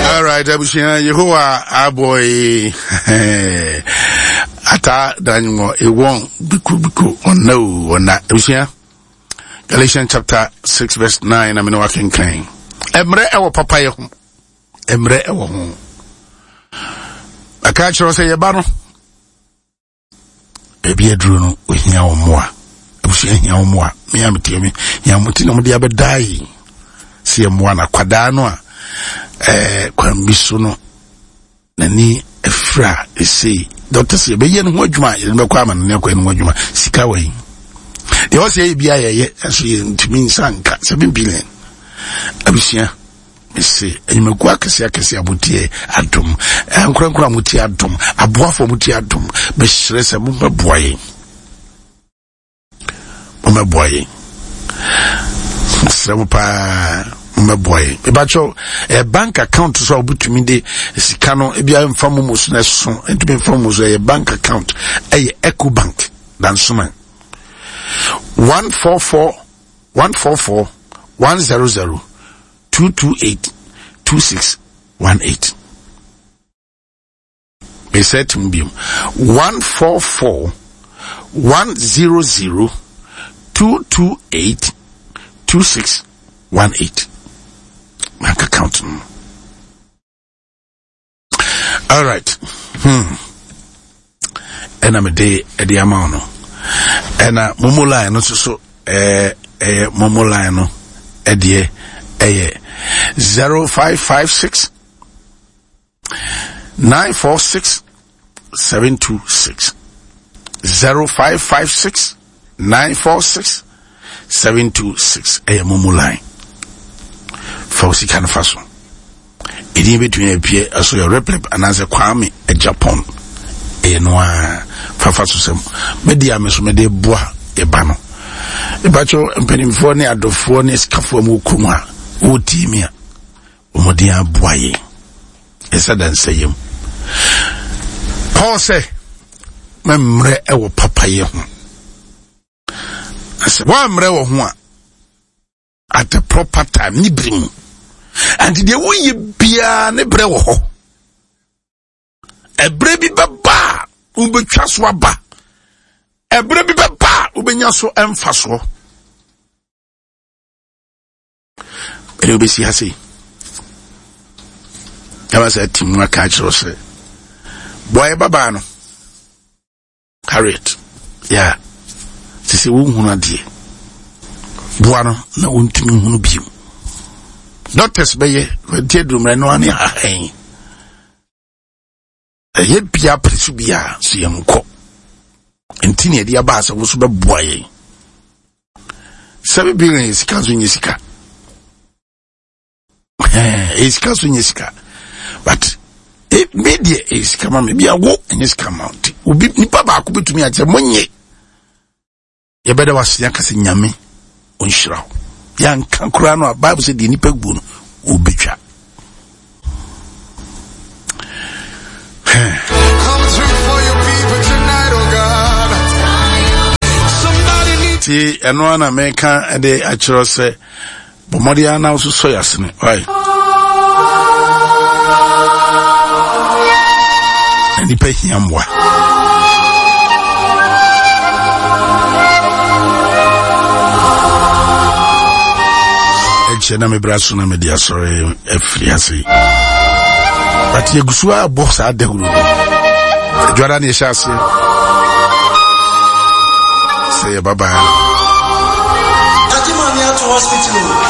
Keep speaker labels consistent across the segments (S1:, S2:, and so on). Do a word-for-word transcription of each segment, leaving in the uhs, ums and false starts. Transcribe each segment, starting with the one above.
S1: All right, abusua Yehowa aboy ata danyo ewon biku biku onna o onna abusua Galatians chapter six verse nine na mene wakenkan emre ewo papa ye ho emre ewo ho aka kyerɛ sɛ yɛba no ebi aduru no ohia wo mmoa abusua hia wo mmoa me a metie me hia mo ti na mo de abɛdaa yi sɛ yɛ mmoa na kwadaa no a ɛɛ kwan bi so no n'ani afira esei dɔkta sɛ yɛbɛyɛ no ho adwuma yɛde bɛkɔ ama no ne akɔyɛ no ho adwuma sika wɔ yi deɛ ɔsɛ yɛ bi a yɛyɛ ɛso yɛntumi nsa nka seven billion abusua mese enyimako akɛse akɛse a motie adom ankorankora a motie adom aboafo a motie adom mesrɛ sɛ mommɛboa yɛn mommɛboa yɛn mesrɛ mo paa mommɛboa yɛn mebakyɛw ɛyɛ bank account so a wobɛtumi de sika no ebi a mfa mo mu so na ɛso ntumi mfa mo mu so ɛyɛ bank account ɛyɛ Ecobank Dansoman one four four one four four one zero zero two two eight two six one eight. Mesɛ tim biom one four four one zero zero two two eight two six one eight. Bank account. All right. Hmm. Ɛna mede ɛde ama wo no. Ɛna momo line no nso so ɛɛ ɛyɛ momo line no ɛdeɛ ɛyɛ zero five five six nine four six seven two six zero five five six nine four six seven two six ɛyɛ momo line fa wo sika no fa so ɛdin bɛtumi apue ɛso yɛ replep anaasɛ Kwame Japan ɛyɛ no a fafa so sɛm mɛdi a me so mede boa yɛba no ɛbakyɛw mpanimfoɔ ne adɔfoɔ ne sikafoɔ mu kurom a wɔtie mi a wɔmɔden aboa yɛn ɛsɛ da nsɛyam Paul sɛ mɛmmerɛ ɛwɔ papayɛ ho sɛ woammerɛ wɔ ho a at the proper time ne bere mu and deɛ woyɛ biara ne berɛ wɔ hɔ ɛberɛ bi bɛba a wobɛtwa so aba ɛberɛ bi bɛba a wobɛnya so ɛmfa soɔ ɛne wobɛsi ha sei ɛma sɛ ati mu aka akyerɛ sɛ boa yɛ babaa no Harriet ya sɛ sɛ wonhunu adeɛ boa no na wontumi nhunu bio doctors bɛyɛ nti adurummerɛ no ane ahɛn ɛyɛ bia pere so bia so yɛnkɔ nti ne yɛde aba sɛ wo so bɛboa yɛn seven billion yɛ sika nso nyɛ sika ɛyɛ sika nso nyɛ sika but me deɛ ɛyɛ sika ma me bia wo ɛnyɛ sika ma nti obi nipa baako bɛtumi akyɛ monye yɛbɛda wase aka sɛ Nyame ɔnhyira wo yɛanka koraa no a Bible sɛ deɛ nipa guo no ɔbɛtwa. Ti ɛno a na meka de akyerɛ sɛ bɔ mmɔden ara na wo so sɔ yɛ asene ɔe na nipa hia mmoa. Ɛkyɛ na mebra so na mede asɔre afiri ase but yɛgu so a bɔ saa dawuro no adwada ne yɛhyɛ aseɛ sɛ yɛbabaa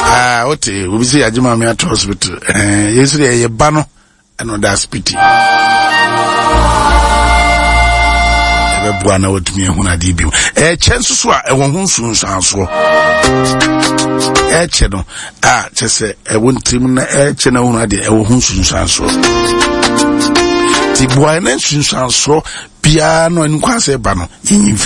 S1: ah wote obi sɛ yɛagye maame ato hospital eh, yɛn nso deɛ yɛyɛ ba no ɛna ɔda asipiti ɛbɛboa na watumi ahunu adeɛ bio ɛkyɛ nso so a ɛwɔ ho nsunsuansoɔ ɛkyɛ no a kyɛ sɛ ɛwɔ ntirim na ɛkyɛ na ahunu adeɛ ɛwɔ ho nsunsuansoɔ nti boa na nsunsuansoɔ biara no ɛno kwan sɛ ɛba no yɛnyi mfiri